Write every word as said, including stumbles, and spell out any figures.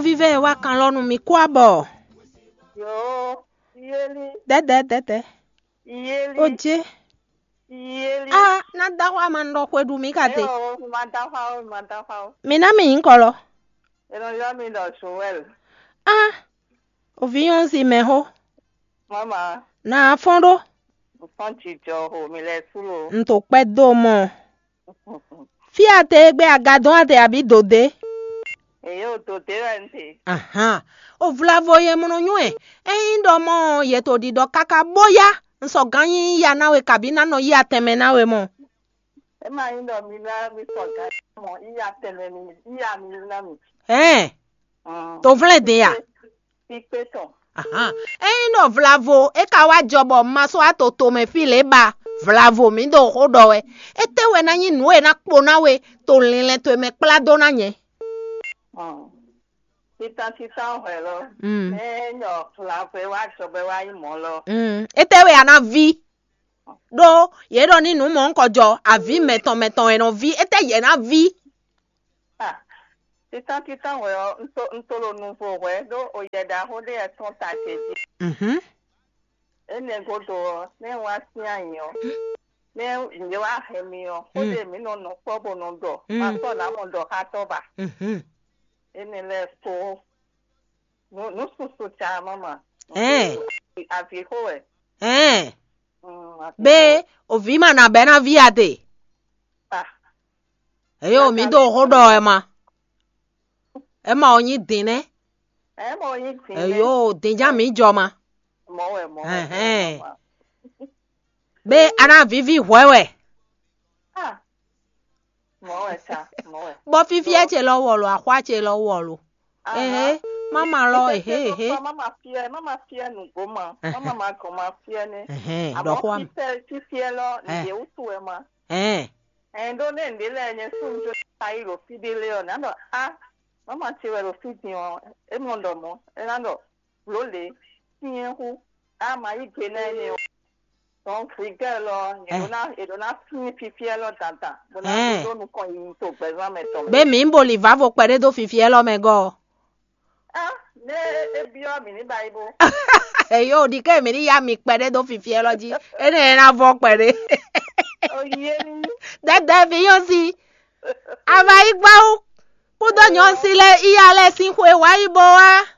Vívɛ e wá kan lɔ nú mi kú abɔ. Yo, yeli, dɛdɛ dɛdɛ. Yeli, Oje. Yeli. A na da xɔ ama nɔ xwe ɖu mi ka te. Yo, ma da xɔ o, ma da xɔ o. Mi na mi nyí kɔlɔ. E nɔ yɔ mi ɖɔ Joel. A ovi yɔn si mɛ xo. Mama, Na fɔn ɖo. Fɔn jijɔ ho mi lɛ sulo. N to kpɛ do mɔ. Fí a te gbé agadɔn a te abi dode. Eyo to te wɛ n te. Ahan. O vlavo ye mɔnɔ nyɔɛ. Eyin ɖɔ mɔ ye to ɖiɖɔ kaka bóyá n sɔ gán nyi ya na we kabi na nɔ yi atɛnmɛ na we mɔ. E ma nyi ɖɔ mi na mi sɔ gán mɔ iya tɛnmɛ mi iya mi na mi. Ɛn. Mm. To vlɛ din ya. Kpíkpé tɔn. Ahan. Eyin ɖɔ vlavo e ka wá jɔ bɔ ma sɔ ato tomɛ fí lě ba vlavo mi ɖo xó ɖɔ wɛ. Étɛ́ wɛ ná nyí nǔ e ná kpo ná we to linlɛn towe mɛ kplá dó ná nyɛ? Mm. Títán títán hwɛ lɔ. Mm. Ényɔ vlavo e wá jɔ bɔ é wá nyí mɔ̌ lɔ. Mm. Étɛ́ wɛ a ná ví? Ɖó yě ɖɔ ní nǔ mɔ̌hunkɔ jɔ avǐ mɛtɔn mɛtɔn e nɔ ví, étɛ́ yě ná ví? Ah, títán títán hwɛ ɔ́, un to un to ɖo nuvo hwɛ ɖó oyɛ ɖaxó ɖé wɛ tɔn ta ce jí. Mhm. Énɛ́ gúdo ɔ́, nɛ́ un wá sín ayǐ ɔ́, nɛ́ yě wá hɛn mi ɔ́, xó Mm. ɖé mǐ nɔ nɔ kpɔ́ bó nɔ ɖɔ, Mm. ma sɔ́ nǎ mɔ ɖɔ xá tɔ́ ba. Mhm. Énɛ́ lɛ́ɛ kpó nǔ nǔ susu ca mama. Ɛn. Avǐ xó wɛ. Ɛn. Mm, avǐ Be xó. Ovi ma na bɛ na vi ade. Ah, Eyo mi do xó ɖɔ ɛ ma. Ɛ ma o nyi din nɛ. Ɛ mɔ nyi din nɛ. Eyo din ja mi jɔ ma. Mɔ wɛ mɔ wɛ. Ɛhɛn. Mama. Be ana vivi hwɛ wɛ. Ah. Mɔ wɛ sa, mɔ wɛ. Bɔ fifiɛ ce lɔ wɔlo, axwa ce lɔ wɔlo. Aha. Ehe, mama lɔ, ehe, ehe. Mama fiɛ, mama fiɛ nugbo ma. Ehe. Mama ma gɔn ma fiɛ ne. Ehe, Àmọ́ ɖɔ xó am. Fífẹ́ fífẹ́ lɔ, Eh. Nìyẹn wútu ẹ ma. Ɛn. Ɛn ɖó ne ŋɖe lɛ nyɛ sún jo ta yi ɖo fí ɖé lé ɔ, nǎ ɖɔ a, mama ce wɛ ɖo fí din ɔ, é mɔ ɖɔ mɔ, é ná ɖɔ blǒ lě, syɛ́n hú, a ma yí gbe ná énɛ́ ɔ. Donc rigɛ́ lɔ, è ɖǒ ná è ɖǒ ná sín fífí ɛlɔ dandan, bó ná Ɛn. Ɖó nukɔn yiyi to gbɛzán mɛ tɔn mɛ. Be mi bo li vavo kpɛɖé dó fifi ɛlɔ mɛ gɔ. Ah, ne e byɔ mi ní bayi bo. Eyo ɖi ke mi ní ya mi kpɛɖé dó fifi ɛlɔ jí. Ene ena vɔ kpɛɖé. Oyi eni. Dɛdɛ vi yɔn si. Ava yi gbawo. Kúdó nyɔn si lɛ iya lɛ sin xwe wa yi bo wa.